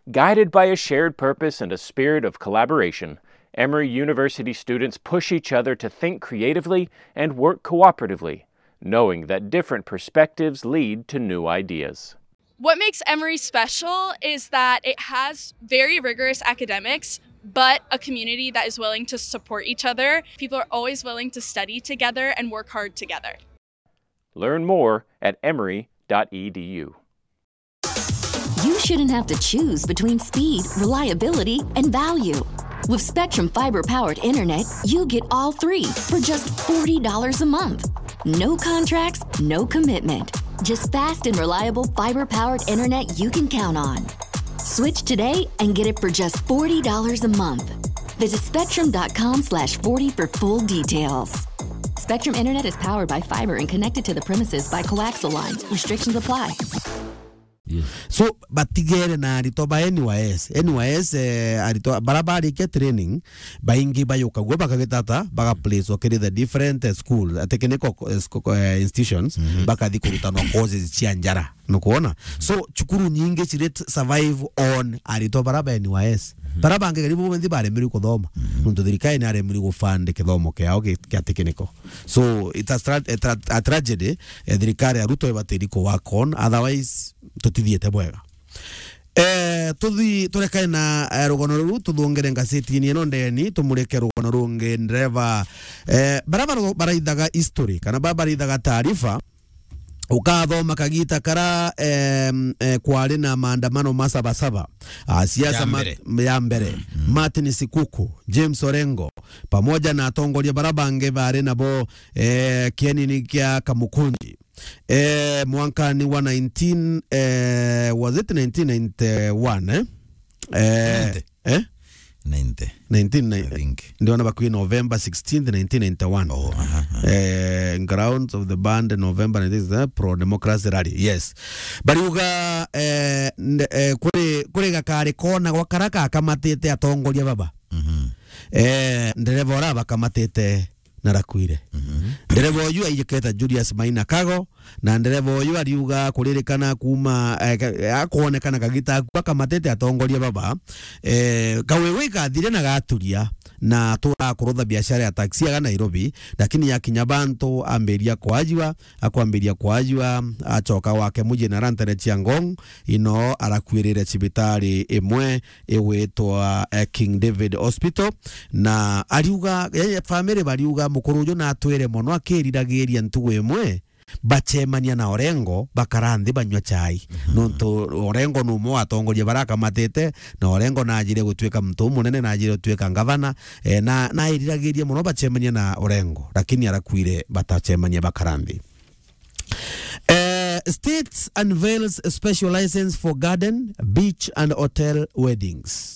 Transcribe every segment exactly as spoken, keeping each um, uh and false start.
Guided by a shared purpose and a spirit of collaboration, Emory University students push each other to think creatively and work cooperatively, knowing that different perspectives lead to new ideas. What makes Emory special is that it has very rigorous academics, but a community that is willing to support each other. People are always willing to study together and work hard together. Learn more at emory dot e d u. You shouldn't have to choose between speed, reliability, and value. With Spectrum Fiber powered internet, you get all three for just forty dollars a month. No contracts, no commitment. Just fast and reliable fiber powered internet you can count on. Switch today and get it for just forty dollars a month. Visit spectrum dot com slash forty for full details. Spectrum Internet is powered by fiber and connected to the premises by coaxial lines. Restrictions apply. So, batigere na aritwa ba N Y S. N Y S, eh, aritwa bara barikia training, baingi bayukagua bakagitata, bagaplacwa kiri the different, eh, school, eh, technical, eh, sco-, eh, institutions, bakathi kurutanwa courses cia njara. Nukwona? So, cukuru nyingi ciri t-, survive on aritwa bara ba N Y S. Bara bangi karibu bonthe baremirwe kuthoma. Nontu thirikari ni aremirwe gufund kithomo kiao ki-, kia technical. So, it's a, stra-, a, tra-, a tragedy, eh, thirikari ya Ruto ibatiri ku work on, otherwise, tutithiite bwega. Eh, tuthi-, turekane na, eh, rugano ruru, tuthungire ngazetini ino ndeni, tumurike rugano rungi, ndereva, eh, bara, bara, baraithaga history, kana bara baraithaga taarifa, ukathoma kagita kara, em, eh, kwari na maandamano ma Sabasaba, ah, siasa ya ma-, mbere, ya mbere. Martin Sikuku, James Orengo, pamoja na atongoria bara bangi bari nabo, eh, kienini kia Kamukunji. Eh, mwankani wa nineteen, eh, was it nineteen ninety-one, eh? Eh, ninety. Eh? Ninety. Nineteen ninety. I think. Ndiona bakwi November sixteenth, nineteen ninety-one. Oh, aha, aha. Eh, grounds of the band November nineteenth, eh, pro democracy rally. Yes. Bariuga, eh, nde-, eh, kuri, kuri gakari kona gwa kara kakamatite atongoria baba. Eh, ndereva ura bakamatite na rakuire. Ndereva uyu aijiketa Julius Maina Kago, na ndereva uyu ariuga kuririkana kuma, eh, ka-, akwonekana kagita aku akamatete atongoria baba, eh, kawewe ikathire na gaturia, na atura kurutha biashara ya taxi aga Nairobi, lakini yakinya bantu ambiria kwajua, akwambiria kwajua, acoka wake muji na arantere cia Ngong, ino arakuirire cibitari imwe igwitwa, eh, King David Hospital, na ariuga, eh, family bariuga mukuru uju natwire mono akiriragiria ntugu imwe bacemania na Orengo, bakara nthi banyua chai. Nontu Orengo ni umwe wa atongoria bara akamatite, na Orengo najire gutuika muntu umunene, najire gutuika ngavana, eh, na, nairiragiria mono bacemania na Orengo, lakini arakuire batacemania bakara nthi. Eh, States unveils special license for garden, beach and hotel weddings.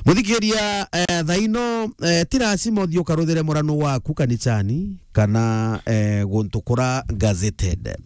Muthikiria, eh, thaino, eh, ti lazima uthii ukaruthere murano waku kanicani kana, eh, guntu kura gazetted.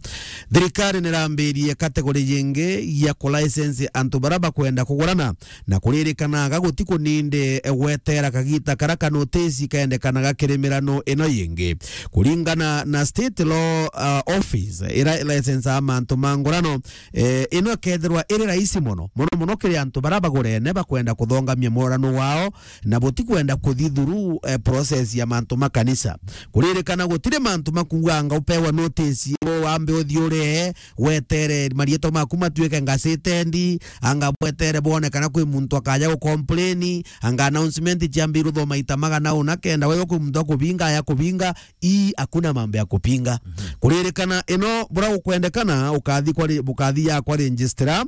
Thirikari nirambirie category yingi ya kulicense antu bara bakwenda kugurana na kuririkanaga guti kuninde gwetera kagita kara kanotisi kaendekanaga kiri mirano ino yingi. Kuringana na State Law, uh, Office, ira license a mantu ma ngurano, eh, ino ikethirwa iri rahisi mono, mono mono kiri antu bara bagurene bakwenda kuthongamia murano wao, na butikwenda kuthi through, eh, process ya mantu ma kanisa. Kuririkana gutiri mantu makuuganga upewa notice, wambe uthi uree, wetere marietwa maku matuike ngacitendi, anga bwetere bwone kana kwi muntu akaja gucomplain, anga announcement ciambirwe thoma ita magana una kenda, wewe kwi muntu akubinga, aya kubinga, ii, hakuna mambo ya kupinga. Kuririkana ino bura gukwendekana, ukathi kwa re-, bukathi ya kwa registrar,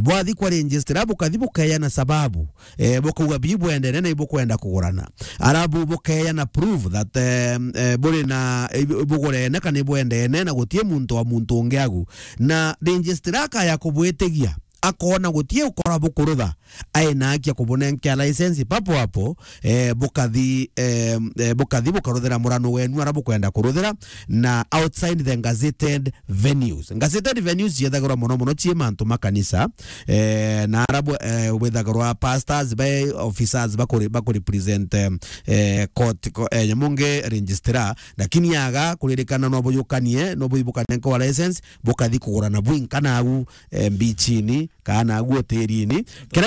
bwathi kwa registrar, bukathi bukeana sababu, eh, bukauga bii bwendene na ibukwenda kugurana. Arabu bukeana proof that, eh, eh, buri na, eh, bugurene kana ibwendene na gutie muntu wa muntu ungi agu. Na registrar akaya kubwitigia, akona gutie ukora bukurutha, aina haki ya kubunenkea license papo hapo, eh, bukathi, eh, eh, bukathi bukaruthira murano wenu ara bukwenda kuruthira na outside the gazetted venues. Gazetted venues ciethagirwa mono mono cii mantu ma kanisa, eh, na ara bwe-, eh, bwethagirwa pastors, ba officers bakuri-, bakurepresent, eh, eh, court, ko-, eh, nyamunge registrar, lakini aga kuririkana no buyukanie, no buibukanenkewa license, bukathi kugurana bwinka nagu, eh, mbichini, kana agu hoterini. Kira